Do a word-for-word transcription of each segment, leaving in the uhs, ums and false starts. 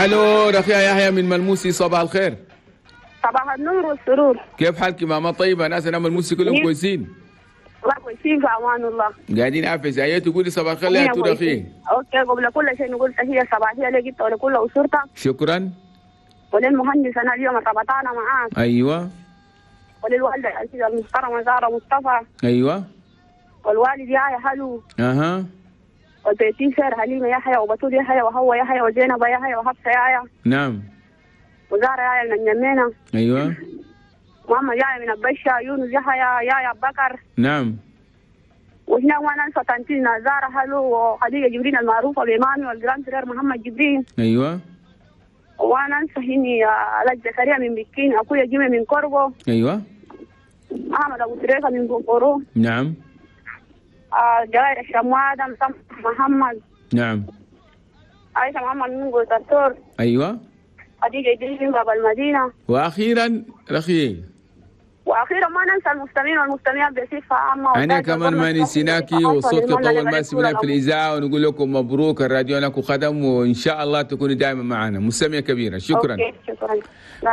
الو رفيع يحيى من ملموسي، صباح الخير. صباح النور والسرور. كيف حالك ماما؟ طيبة؟ ناس انا ملموسي كلهم كويسين؟ والله كويسين في امان الله. قاعدين عافية. ايوه تقولي صباح الخير يا رفيع. okay، قبل كل شيء نقول تحية صباحية لك انت ولكل اسرتك. شكرا. وللمهندس انا اليوم ربطانا معاك. ايوه. وللوالده العزيزة المحترمة زهره مصطفى. ايوه. والوالد يحيى حلو. اها. والبيتي سير حليمة يحيى وبتول يحيى وهو يحيى وزينب يحيى وحفصة يحيى. نعم. وزهرة يحيى من اليمينة. ايوه. محمد يحيى من البشة، يونس يحيى، يحيى بكر. نعم. وهنا وانا انسى تنتينا زهرة حلو وخديجة جبرين المعروفة بإمامي وال grand frère محمد جبرين. ايوه. وانا انسى هني علاج زكريا من بكين، اخويا جيمي من كوربو. ايوه. احمد ابو تريكه من بوكورو. نعم. آه جوائر الشموادة محمد. نعم. عايشة محمد من قوتاتور. ايوه. خديجة إدريس من باب المدينة. واخيرا رخي. واخيرا ما ننسى المستمعين والمستمعات بصفة عامة. انا كمان ما نسيناكي وصوتك اول ما سمعناه في الاذاعة، ونقول لكم مبروك الراديو لكم خدم، وان شاء الله تكوني دائما معنا مستمعه كبيرة. شكرا. okay شكرا.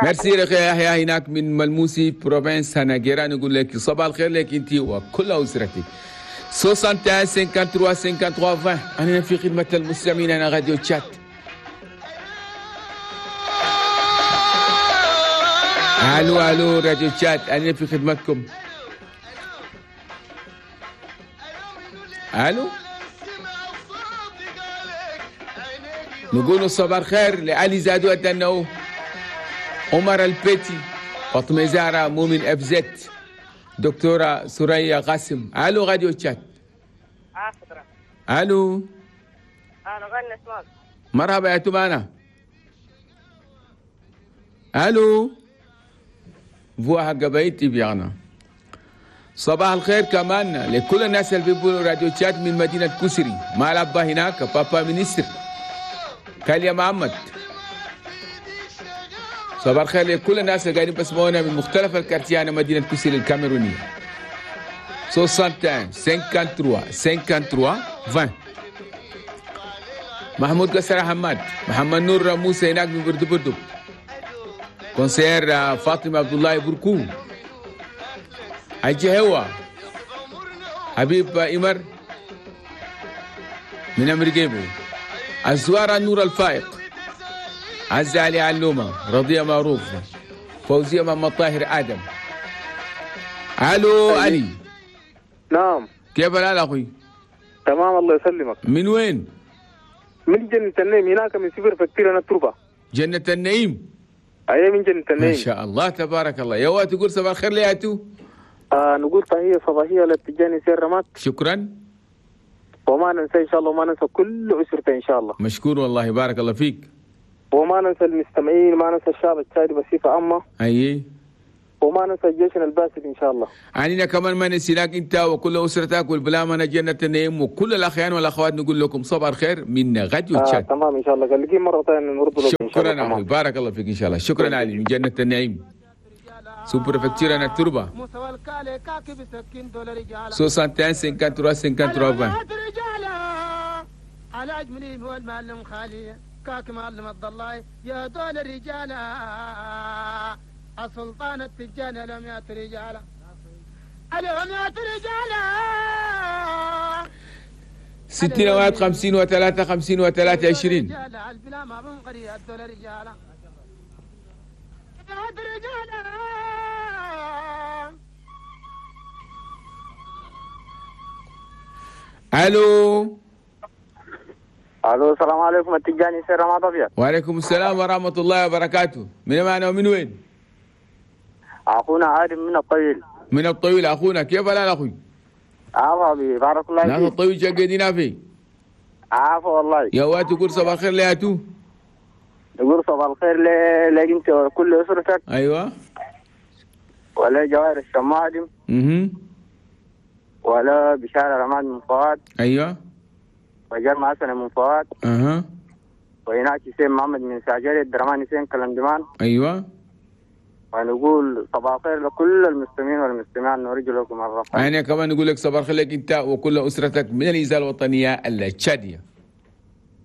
ميرسي رخي يحيى هناك من ملموسي province هناجيرا. نقول لك صباح الخير لك انت وكل اسرتك. واحد وستين ثلاثة وخمسين ثلاثة وخمسين عشرين. أنا في خدمة المستمعين، أنا راديو تشات. الو الو راديو تشات، أنا في خدمتكم. الو. نقول صباح الخير لعلي زادو أدنو، عمر البيتي، فاطمة زهرة، مؤمن اف زد، دكتورة سوريا قاسم. الو راديو تشات. الو. مرحبا يا تمانا. الو. فوا قبايتي بيانا. صباح الخير كمان لكل الناس اللي بيقولوا راديو تشات من مدينة كسري، مع الأبا هناك بابا ministre كاليا محمد. صباح الخير لكل الناس اللي قاعدين بسمعونا من مختلف ال quartiers مدينة كسري الكاميرونية. واحد وستين ثلاثة وخمسين ثلاثة وخمسين عشرين. محمود قصر حماد، محمد نور موسى هناك من بردو بردو، conseillère فاطمة عبد الله بركو، حجي هوا، حبيب إمر من أمريكا، الزوارة نور الفائق، عزة علي علومة، رضية معروف، فوزية محمد طاهر آدم. ألو علي. نعم. كيف الحال أخوي؟ تمام الله يسلمك. من وين؟ من جنة النعيم هناك، من sous-préfecture أنا التربة. جنة النعيم. أيوة من جنة النعيم. ما شاء الله تبارك الله. يا وقت تقول صباح الخير لياتو. آه نقول تحية صباحية للتجاني سير رمات. شكرا. وما ننسى إن شاء الله، وما ننسى كل أسرته إن شاء الله. مشكور والله بارك الله فيك. وما ننسى المستمعين، ما ننسى الشعب التشادي بصفة عامة. أي. وما ننسى جيشنا الباسل إن شاء الله. علينا كمان ما نسيناك أنت وكل أسرتك والبلامنا جنة النعيم وكل الأخيان والأخوات. نقول لكم صباح الخير من غد وتشاد. آه تمام إن شاء الله. قال لك مرة ثانية نرد لكم. شكرا أخوي بارك الله فيك إن شاء الله. شكرا علي من جنة النعيم. sous-préfecture أنا التربة. واحد وستين ثلاثة وخمسين ثلاثة وخمسين عشرين. على أجملين هو المعلم خالي كاك معلم عبد الله يا دول الرجال السلطان التجاني لم يأت رجالا اليوم يأت رجالا. ستين واحد خمسين وثلاثة خمسين وثلاثة عشرين. الو. الو السلام عليكم التجاني سير رماد ابيض. وعليكم السلام ورحمة الله وبركاته. من معنا ومن وين؟ اخونا ادم من الطويل. من الطويل اخونا، كيف الحال اخوي؟ عافا بي بارك الله فيك. ناس الطويل شقيدينا في. عافا والله. يا وات تقول صباح الخير لياتو. نقول صباح الخير لك انت وكل اسرتك. ايوه. ولا جواهر الشمادم. اها. ولا بشارة رماد من فؤاد. ايوه. وجرم حسن من فؤاد. اها. وهناك حسين محمد من ساجري الدرمان حسين كلندمان. ايوه. ونقول صباح الخير لكل المستمعين والمستمعات، نرجو لكم الرفع. انا كمان نقول لك صباح الخير لك انت وكل اسرتك من الاذاعة الوطنية التشاديه.